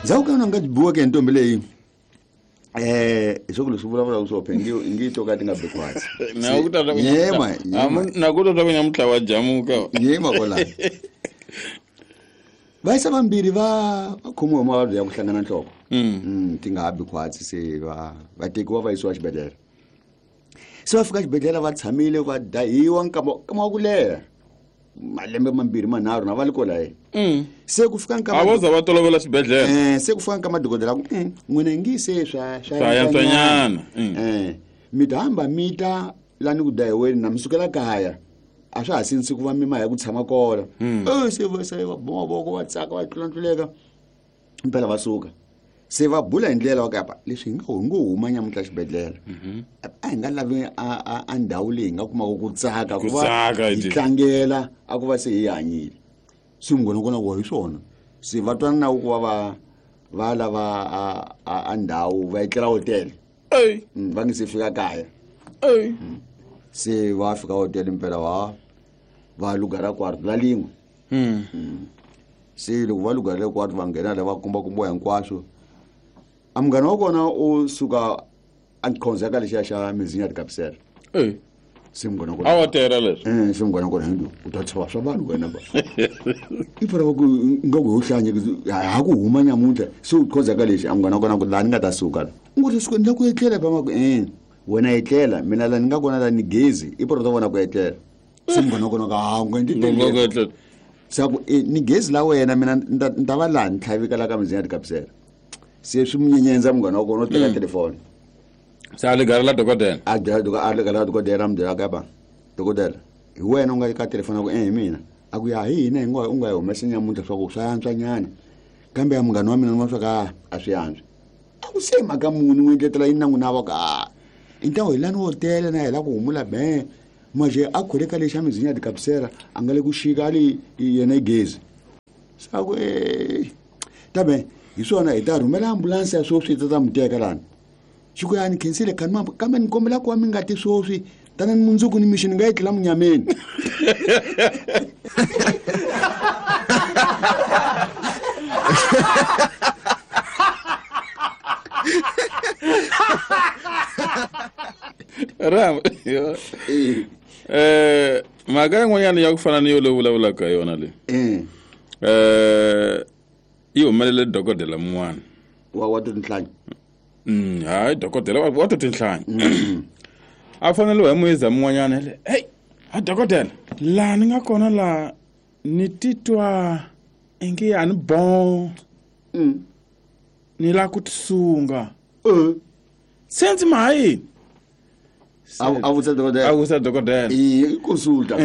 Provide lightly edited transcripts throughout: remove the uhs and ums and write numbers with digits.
Ndzhaku ka yona nga biweke hi ntombi leyi hi swa ku leswi vulavulaka swo phe ngi to ka ti nga bi khwatsi. Yema yema. Na ku ta ku nyamutlha wa jamuka. Yema kwala. Vayisa vambirhi va khomiwa hi mavabyi ya ku hlangana nhloko. Ti nga ha bi khwatsi se va tekiwa va yisiwa xibedhlele. Se va fika xibedhlele va tshamile va dahiwa nkama wa ku leha. Malembe mambirhi manharhu na va li kola ye. Se ku fika nkama A vo za va tolovela xibedhlele. Se ku fika nkama dokodela ku n'wina ngi se swa Swa yantswanyana. Mi ta hamba mi ta la ni ku dahiweni na mi sukela kaya. A swa ha sindzisi ku va mi ma ya ku tshama kona. Se va se va boma mavoko va tsaka va tlulatluleka. Impela va suka. Se va bula hi ndlela wa kapa leswi hi nga hi ngo huma nyamuntlha xibedhlele. A hi nga lavi a ndhawu leyi hi nga kumaka ku tsaka, Ku ku va tsaka, hi hi tlangela a ku va se hi hanyile. Se munghana wa kona ku hi swona. Se va twana na ku va va lava a ndhawu va etlela hotele. Va nge se fika kaya. Se va fika hotele impela va lugara kwarto la lin'we. Se loko va lugara kwarto va nghena la va kombakombiwa hinkwaswo. A munghana wa kona u suka a khonza ka lexiya xa mizinya tikapsela. Se munghana wa kona A wa tera leswi. Se munghana wa kona hindu u ta tshova swa vanhu wena ba. I fana va ku nga ku ho hlanya ku ha ku huma nyamuntlha se u khonza ka lexi a munghana wa kona ku laha ni nga ta suka la. U ngo suka ni la ku etlela ba ma ku wena etlela mina la ni nga kona la ni gezi i pora ta vona ku etlela. Se munghana wa kona ka ha u nga ndzi Nga ku tele. etlela. Se ku ni gezi la wena mina ni ta va laha ni tlhavika la ka mizinya tikapsela. Se swi munyenyendza munghana wa kona u teka telefoni. Se a ligara la dokodela. A dya a ligara la dokodela, a mi byela ka ba. Dokodela, hi wena u nga ka telefoni ku hi mina. A ku ya hi hina hi ngo u nga hi humesa nyamuntlha swa ku swa antswa nyana. Kambe ya munghana wa mina ni vona swa ka a swi antswi. A ku se mhaka muni u endletela yini na n'wina va ka a. I ntawo hi lani hotela na hi la ku humula be. Manje a khole ka lexa mizinya tikapsela a nga le ku xika ali yena i gezi. Sa ku tabe hi swona hi ta rhumela ambulanse ya sweswi yi ta ta mi teka lani. Xi ku ya ni khensile khani mambo kambe ni kombela ku va mi nga ti sweswi tana ni mundzuku ni mixo ni nga etlela munyameni. Ram. Mhaka yin'wanyana ya ku fana ni yo leyi vulavulaka hi yona leyi. Yi humelele dokodela mun'wana. Wa tinhlanyi. Hayi dokodela wa tinhlanyi. A fanele hi muyiza mun'wanyana le. Hey, ha dokodela, laha ni nga kona la ni titwa ingi a ni bon. Ni la ku tisunga. Sense mahi. A vutisa dokodela. A vutisa dokodela. I consulta.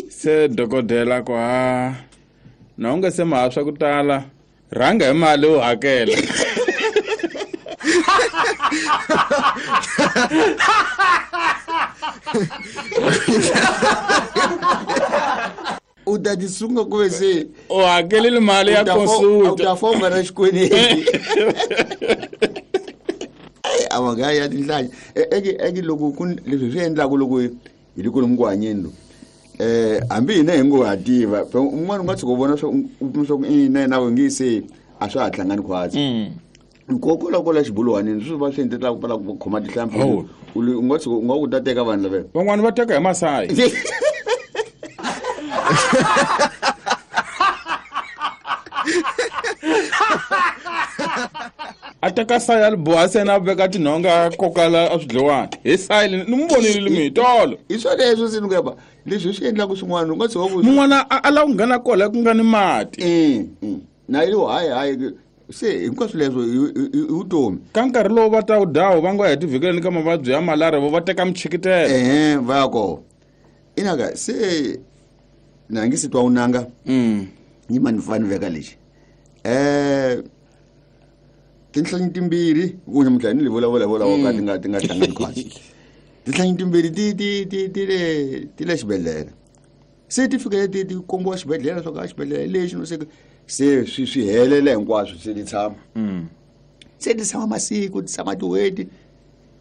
Se dokodela ku ha na u nga se maha swa ku tala rhanga hi mali u hakela. U ta tisunga ku ve se u hakelile mali ya consulta. U ta fa u nga na xikweleti. A va nga ya tinhlanyi. Eke loko ku leswi swi endlaku loko hi le ku ku hanyeni loku. Hambi hina hi ngo ha tiva, un'wana u nga tshuka u vona swa u kuma swa ku na yena u nge se a swa ha hlangani khwatsi. Nkokola kola xibuluwanini swi va swi endlela ku pfala ku khoma tihlampfi. U le, u nga tshuka u nga ku ta teka vanhu lava. Van'wani va teka hi masayi. A teka sayi a li boha se na veka tinhonga a koka la a swidliwani. Hi sayi le, ni n'wi vonile mi hi tolo. Hi swa leswo se ni ku ya ba, leswi swi endlaka swin'wana, u nga tshuka ku Mun'wana a lava ku nghena kwala ku nga ni mati. Na yi lo hayi, hayi, se hinkwaswo leswo hi vutomi. Ka nkarhi lowu va ta wu dyaho va nga heti vhikeleni ka mavabyi ya malaria vo va teka michikitelo. Va ya kona. Inaka se na nge se twa unanga. Ni mani fani veka lexi. Tinhlanyi timbirhi, ku nyamuntlha ni vulavula vulavula wa ka ti nga hlangani khwatsi. Tinhlanyi timbirhi ti le xibedhlele. Se ti fike ti kombiwa xibedhlele swa ka xibedhlele lexi no se se swi helele hinkwaswo se ti tshama. Se ti tshama masiku, ti tshama tin'hweti.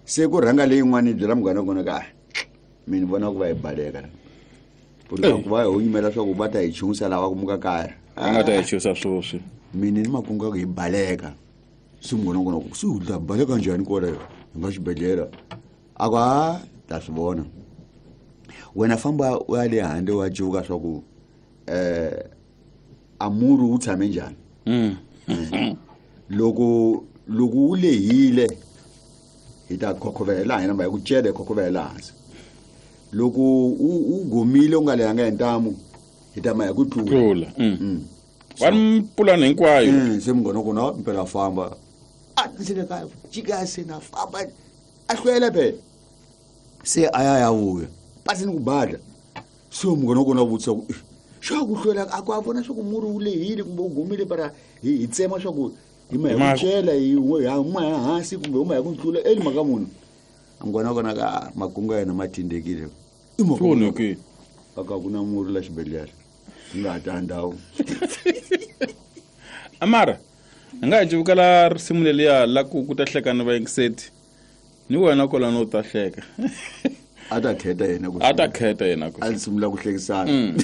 Se ku rhanga leyin'wana yi byela munghana wa kona ka, mina ni vona ku va hi baleka la. Ku ri ku va hi yimela swa ku va ta hi chuhisa lava ku muka kaya. Va nga ta hi chuhisa sweswi. Mina ni makungu ya ku hi baleka. Se munghana wa kona ku se u ta baleka njhani kwala hi nga xibedhlele? A ku a ta swi vona. Wena famba u ya le handle wa cuka swa ku a murhi wu tshame njhani. Loko loko wu lehile hi ta khokhovela hina mba hi ku cela hi khokhovela hansi. Loko u gomile u nga lehanga hi ntamu hi ta ma hi ku tlula. Tlula. Wa ni pulani hinkwayo. Se munghana wa kona mpela famba. A ndzi le kaya jika se na famba. A hlwela phela. Se a ya ya vuya. Pasi ni ku badla. Se munghana wa kona a vutisa ku xa ku hlwela a ku a vona swa ku murhi wu lehile kumbe wu gomile para hi tsema swa ku hi ma hi ku cela hi huma hi hansi kumbe huma hi ku tlula eli mhaka munhu. Munghana wa kona ka makungu ya yena ma tindekile. I mhaka munhu. Swi A ka ku na murhi la xibedhlele. Hi nga ha ta ndhawu. Amara, hi nga ha civukela risimu leliya la ku ku ta hleka ni vayingiseti. Ni wena kwalano u ta hleka. A ta kheta yena ku A ta kheta yena ku. A sungula ku hlekisana.